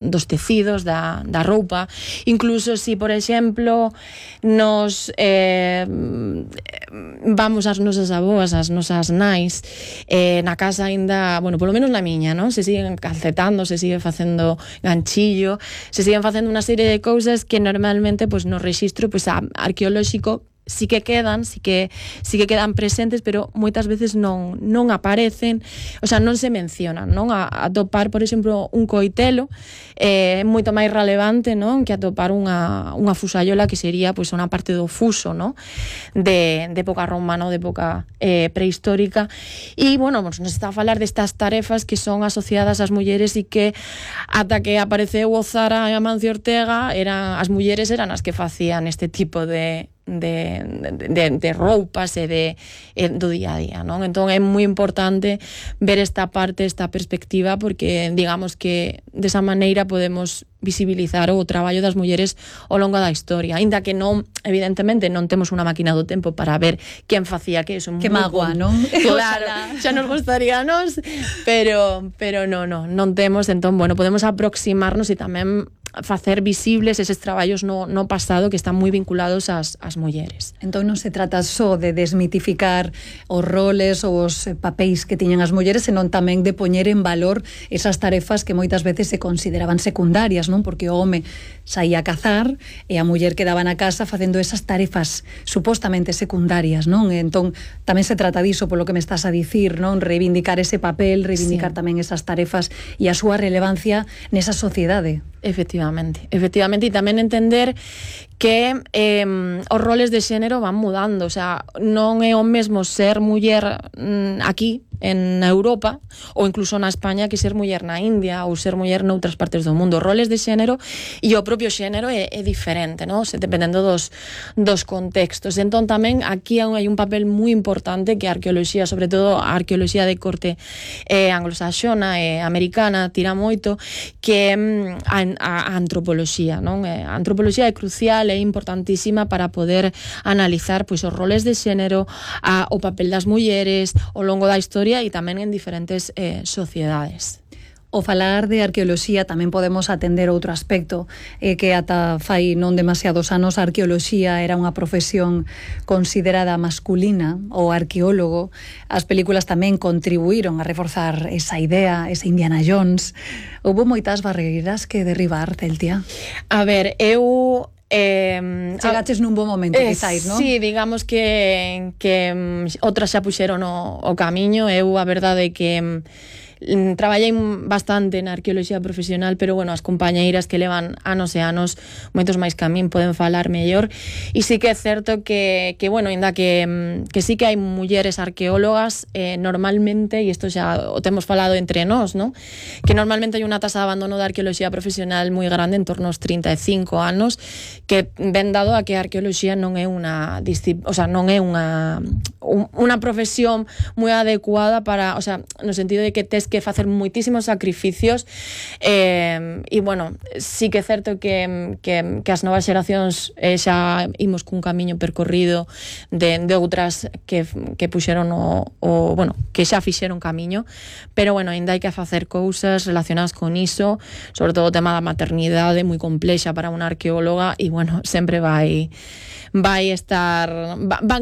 dos tecidos, da roupa. Incluso si, por exemplo, nos vamos ás nosas aboas, ás nosas nais, na casa aínda, bueno, polo menos na miña, non? Se siguen calcetando, se sigue facendo ganchillo, se siguen facendo unha serie de cousas que normalmente, pois, no rexistro, pois, arqueolóxico sí que quedan presentes, pero moitas veces non aparecen, o sea, non se mencionan, non? A atopar, por exemplo, un coitelo é moito máis relevante, non? Que atopar unha fusayola, que sería, pois, unha parte do fuso, non? De época romana ou de época prehistórica. E, bueno, nos está a falar destas tarefas que son asociadas ás mulleres e que ata que apareceu o Zara e Amancio Ortega, as mulleres eran as que facían este tipo de roupas e do día a día, non? Entón é moi importante ver esta parte, esta perspectiva, porque digamos que desa maneira podemos visibilizar o traballo das mulleres ao longo da historia, aínda que non, evidentemente, non temos unha máquina do tempo para ver quen facía que eso. Que magua, non? Claro, xa nos gustaríanos, pero non temos. Entón, bueno, podemos aproximarnos e tamén facer visibles eses traballos no pasado que están moi vinculados ás mulleres. Entón non se trata só de desmitificar os roles ou os papéis que tiñan as mulleres, senón tamén de poñer en valor esas tarefas que moitas veces se consideraban secundarias, non? Porque o home saía a cazar e a muller quedaba na casa facendo esas tarefas supostamente secundarias, non? Entón tamén se trata diso, polo que me estás a dicir, non? Reivindicar ese papel, reivindicar tamén esas tarefas e a súa relevancia nesa sociedade. Efectivamente, e tamén entender que os roles de xénero van mudando, o sea, non é o mesmo ser muller aquí en Europa ou incluso na España que ser muller na India ou ser muller noutras partes do mundo. Roles de xénero e o propio xénero é diferente, non? Dependendo dos contextos. Entón tamén aquí hai un papel moi importante que a arqueoloxía, sobre todo a arqueoloxía de corte anglosaxona e americana, tira moito, que a antropoloxía, non? A antropoloxía é crucial, é importantísima para poder analizar, pois, os roles de xénero, o papel das mulleres ao longo da historia e tamén en diferentes sociedades. O falar de arqueoloxía tamén podemos atender outro aspecto, que ata fai non demasiados anos a arqueoloxía era unha profesión considerada masculina, o arqueólogo. As películas tamén contribuíron a reforzar esa idea, esa Indiana Jones. Houbo moitas barreiras que derribar, Celtia? A ver, eu... chegaches nun bo momento, quizáis, non? Sí, digamos que outras xa puxeron o camiño. Eu, a verdade, que traballei bastante na arqueoloxía profesional, pero, bueno, as compañeiras que levan anos e anos, moitos máis que a min, poden falar mellor. E sí que é certo que bueno, ainda que sí que hai mulleres arqueólogas, normalmente, e isto xa o temos falado entre nós, ¿no? Que normalmente hai unha tasa de abandono da arqueoloxía profesional moi grande, en torno aos 35 anos, que ven dado a que a arqueoloxía non é unha profesión moi adecuada para, o sea, no sentido de que tes que facer moitísimos sacrificios, e, bueno, sí que é certo que as novas xeracións xa imos cun camiño percorrido de outras que puxeron bueno, que xa fixeron camiño, pero, bueno, ainda hai que facer cousas relacionadas con iso, sobre todo o tema da maternidade, moi complexa para unha arqueóloga, e, bueno, sempre van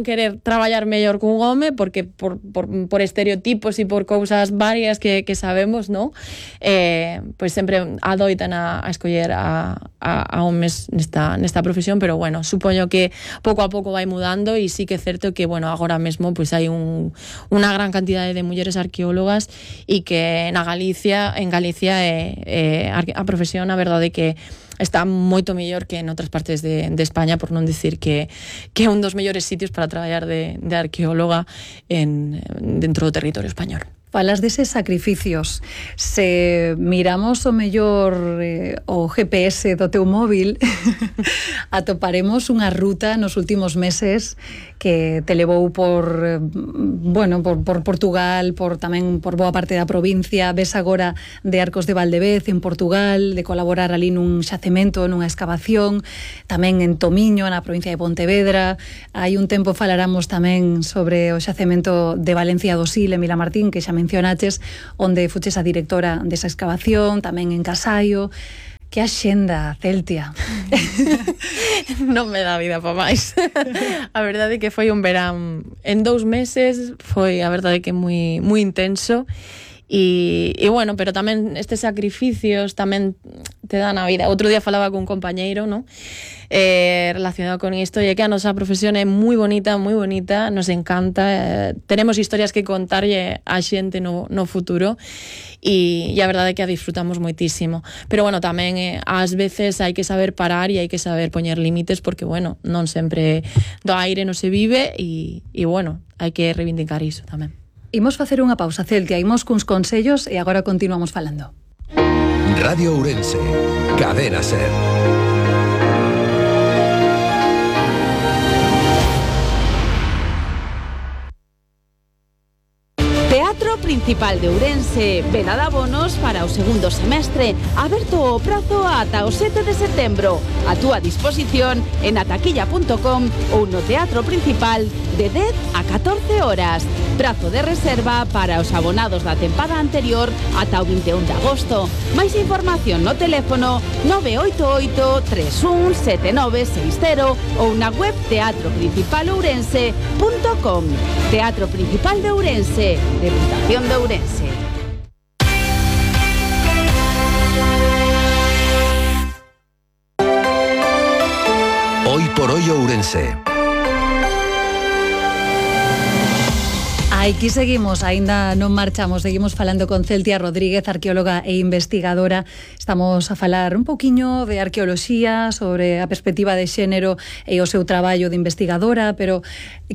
querer traballar mellor cun home, porque por estereotipos e por cousas varias que sabemos, non? Pois sempre adoitan a escoller a homes nesta profesión, pero, bueno, supoño que pouco a pouco vai mudando, e sí que é certo que, bueno, agora mesmo pois hai unha gran cantidade de mulleres arqueólogas, e que en Galicia a profesión, a verdade, que está moito mellor que en outras partes de España, por non dicir que é un dos mellores sitios para traballar de arqueóloga dentro do territorio español. Falas deses sacrificios. Se miramos o mellor o GPS do teu móvil, atoparemos unha ruta nos últimos meses que te levou por Portugal, tamén por boa parte da provincia. Ves agora de Arcos de Valdevez, en Portugal, de colaborar ali nun xacemento, nunha excavación, tamén en Tomiño, na provincia de Pontevedra. Hai un tempo falaramos tamén sobre o xacemento de Valencia do Sil, en Vilamartín, que xa mencionaches, onde fuches a directora desa excavación, tamén en Casaio. Que axenda, Celtia. Non me dá vida para máis. A verdade é que foi un verán en 2 meses, foi a verdade que moi intenso. E bueno, pero tamén estes sacrificios tamén te dan a vida. Outro día falaba con un compañeiro, ¿no? Relacionado con isto, e que a nosa profesión é moi bonita, nos encanta, tenemos historias que contarlle a xente no futuro, e a verdade é que a disfrutamos moitísimo. Pero bueno, tamén ás veces hai que saber parar e hai que saber poñer límites, porque bueno, non sempre do aire non se vive, e bueno, hai que reivindicar iso tamén. Imos facer unha pausa, Celtia, imos cuns consellos e agora continuamos falando. Radio Ourense, Cadena Ser. Teatro Principal de Ourense, venda de abonos para o segundo semestre, aberto o prazo ata o 7 de setembro. A túa disposición en ataquilla.com ou no Teatro Principal de 10 a 14 horas. Prazo de reserva para os abonados da tempada anterior ata o 21 de agosto. Máis información no teléfono 988 317960 ou na web teatroprincipalourense.com. Teatro Principal de Ourense, Deputación de Ourense. Hoy por hoy Ourense. Aquí seguimos, aínda non marchamos, seguimos falando con Celtia Rodríguez, arqueóloga e investigadora. Estamos a falar un poquinho de arqueoloxía, sobre a perspectiva de xénero e o seu traballo de investigadora, pero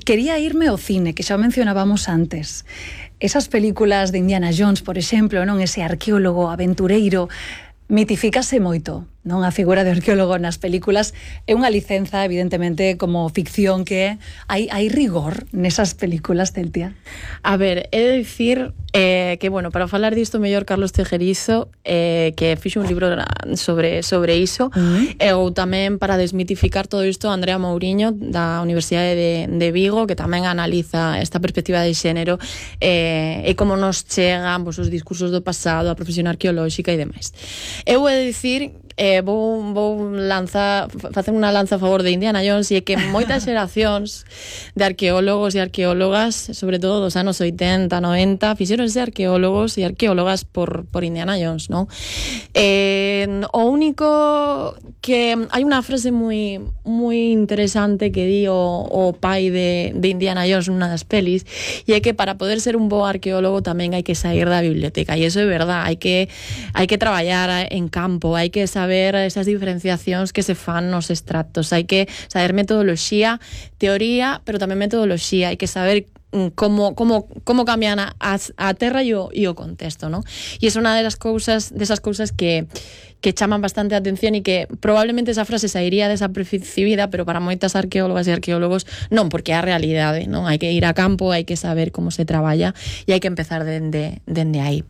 quería irme ao cine, que xa mencionábamos antes. Esas películas de Indiana Jones, por exemplo, non, ese arqueólogo aventureiro, mitifícase moito, non? A figura de arqueólogo nas películas é unha licenza, evidentemente, como ficción que hai rigor nesas películas, Celtia. A ver, he de dicir que, bueno, para falar disto mellor Carlos Tejerizo, que fixo un libro sobre iso, ou tamén para desmitificar todo isto Andrea Mouriño da Universidade de Vigo, que tamén analiza esta perspectiva de xénero e como nos chegan os discursos do pasado, a profesión arqueolóxica e demais. Eu he de dicir, vou facer unha lanza a favor de Indiana Jones, e é que moitas xeracións de arqueólogos e arqueólogas, sobre todo dos anos 80, 90, fixeronse arqueólogos e arqueólogas por Indiana Jones, non? O único que hai unha frase moi interesante que di o pai de Indiana Jones nunha das pelis, e é que para poder ser un bo arqueólogo tamén hai que sair da biblioteca, e iso é verdad, hai que traballar en campo, hai que saber esas diferenciacións que se fan nos extractos, hai que saber metodoloxía, teoría, pero tamén metodoloxía, hai que saber como cambian a terra e o contexto, ¿no? E é unha desas cousas que chaman bastante a atención, e que probablemente esa frase sairía desapercibida, pero para moitas arqueólogas e arqueólogos non, porque é a realidade, non? Hai que ir a campo, hai que saber como se traballa e hai que empezar dende aí.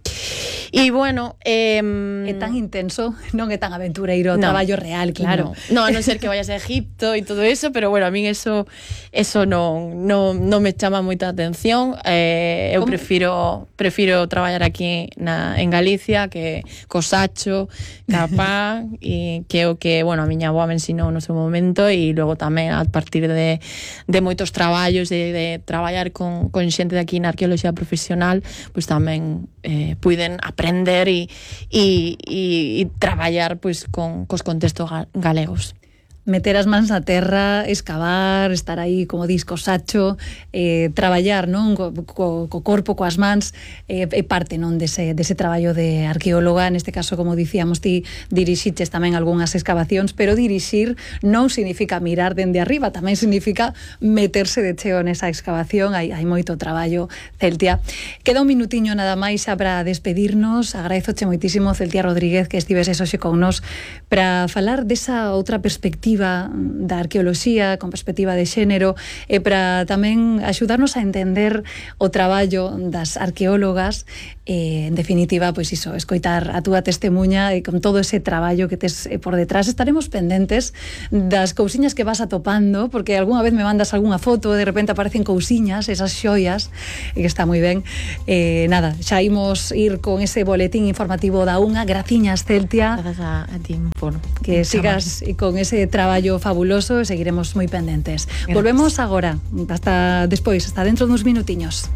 E bueno, é tan intenso, non é tan aventureiro, traballo real, claro. No, a non ser que vayas a Egipto e todo eso, pero bueno, a min eso non me chama moita atención. Eu prefiro traballar aquí en Galicia, que cosacho, capá, e que é o que, bueno, a miña avoa me ensinou no seu momento, e logo tamén a partir de moitos traballos de traballar con xente de aquí na arqueoloxía profesional, pois tamén puiden aprender e traballar pois cos contextos galegos. Meter as mans na terra, escavar, estar aí, como dis, co sacho, traballar, non, co corpo, coas mans, é parte, non, dese traballo de arqueóloga. Neste caso, como dicíamos, ti dirixiches tamén algunhas excavacións, pero dirixir non significa mirar dende arriba, tamén significa meterse de cheo nesa excavación. Hai moito traballo, Celtia. Queda un minutiño nada máis xa para despedirnos. Agradezoche moitísimo, Celtia Rodríguez, que estiveses hoxe con nos para falar desa outra perspectiva perspectiva da arqueoloxía, con perspectiva de xénero, e para tamén axudarnos a entender o traballo das arqueólogas, en definitiva, pois iso, escoitar a túa testemunha e con todo ese traballo que tes por detrás. Estaremos pendentes das cousiñas que vas atopando, porque algunha vez me mandas algunha foto, de repente aparecen cousiñas, esas xoias, que está moi ben. Nada, xa imos ir con ese boletín informativo da unha. Graciñas, Celtia. Gracias a ti por que sigas con ese traballo fabuloso e seguiremos moi pendentes. Gracias. Volvemos agora, hasta despois, hasta dentro duns minutiños.